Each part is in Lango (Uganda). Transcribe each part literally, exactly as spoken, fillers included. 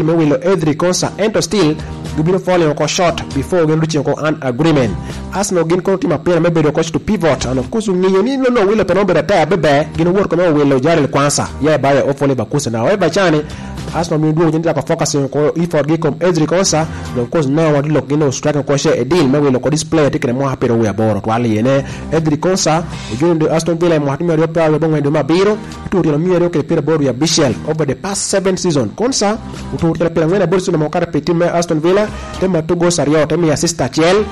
me wilo Ezri Konsa, ento still gibino falling oko short before gin reaching oko an agreement. Arsenal gin kono timo apira me bedo coach to pivot, and of course ongeyo ni Lolo Wilo pe nongo bedo ater bebe, gin owor kome owilo Jarel Kwanza, ya i bayo Ofoli Bakusa. Now, however, cani, Arsenal mio dwogo cen cako focusing oko effort gi kom Ezri Konsa, and of course now wan lok gin o strike oko she a deal me wilo oko this player tye kede mwaka pyeraryo wie aboro twal iye ne. Ezri Konsa, ojoin Aston Villa i mwaka tye mia aryo pyeraryo abongwen dwe me abiro, oturo tyen omia aryo kede pyeraboro wie abicel over the past seven season. Konsa oturo tyen pyerangwen aboro season ame okato pi tim me Aston Villa, te mato goals aryo, te miyo assist acel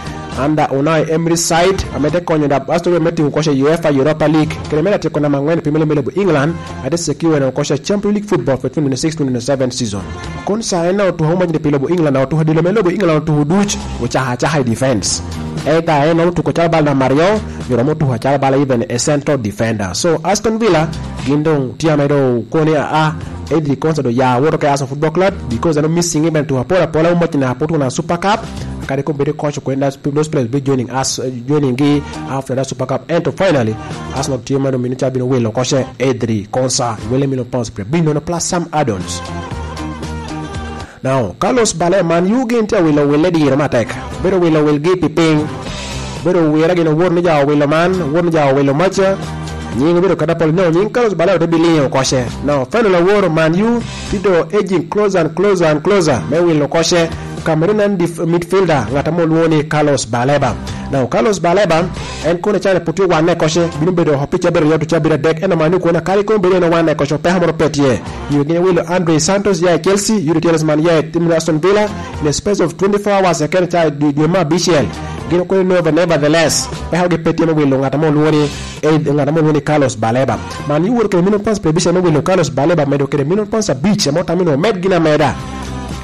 under Unai Emery side, ame te konyo da Aston Villa me tingo koc i UEFA Europa League, kede me atyeko namba angwen i Premier League me lobo England, ate secure en koc a Champions League football for twenty twenty-six twenty twenty-seven season. Konsa en otuko mac ni pi lobo England, otuko dilo me lobo England, otuko duc, ocaka acaka i defense. Eka en otuko calo bal namba aryo, nyo romo tuko acalo bala even a central defender. So Aston Villa gin doŋ tye ame doŋ okoni, aa, Ezri Konsa doŋ ya woto ke Arsenal Football Club because en o missing even tuko apol apola, omoc na put won a Super Cup, kadi kono bedo coach kwen, those players be joining us, uh, joining gi after that Super Cup. Ento finally Arsenal tye ma doŋ mino ca bino wilo koce Ezri Konsa, wele million pounds, bino plus some add-ons. Now, Carlos Baleba, Man U gin tye awilo wille diro matek. Bedo wilo wilgi pi piny. Bedo wira gin owor ni ja owilo man, owor ni ja owilo maca. Nying obedo kata pol, no, nying Carlos Baleba te biliŋo koce. Now, final aworo, Man U tye do edging closer and closer and closer me wilo koce Cameroonian dif-, midfielder, ŋat ame olwoŋo ni Carlos Baleba. Now, Carlos Baleba, en kono icane put tye wanne koce, bino bedo oko pi cabit aryo to cabit adek, ento Man U kono akadi kono bedo en owanne koce, peko moro pe tye. Yo gin ewilo Andre Santos ya i Chelsea, Youri Tielemans ya i tim Aston Villa, in a space of twenty-four hours, eken ca dwe, dwe me abicel. Gin okono never-, nevertheless, peko gi pe tye me wilo ŋat ame olwoŋo ni, eh, ŋat ame olwoŋo ni Carlos Baleba. Man U wot kede million pounds per abicel me wilo Carlos Baleba, medo kede million pounds abic, ame otamo ni omed gin ameda.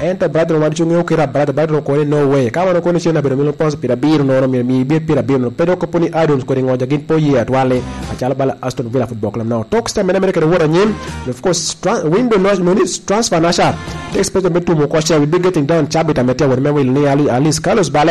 Ento Brighton wan cuŋ ŋeo kite a Brighton, Brighton okono ni no way. Ka wan okono cen abedo million pounds pyerabiro nono, myero mi ibed pyerabiro nono. Pe dok kopo ni add-ons kodi ŋoja gin pe oye atwali, acalo bala Aston Villa Football Club. Now, talks te mene mene kede wot anyim. Of course, tra-, window no, no ni transfer naca. Te expect me tumo oko share, we be getting down cabit ame tye awot me wilo ni Ali-, Alice Carlos Bale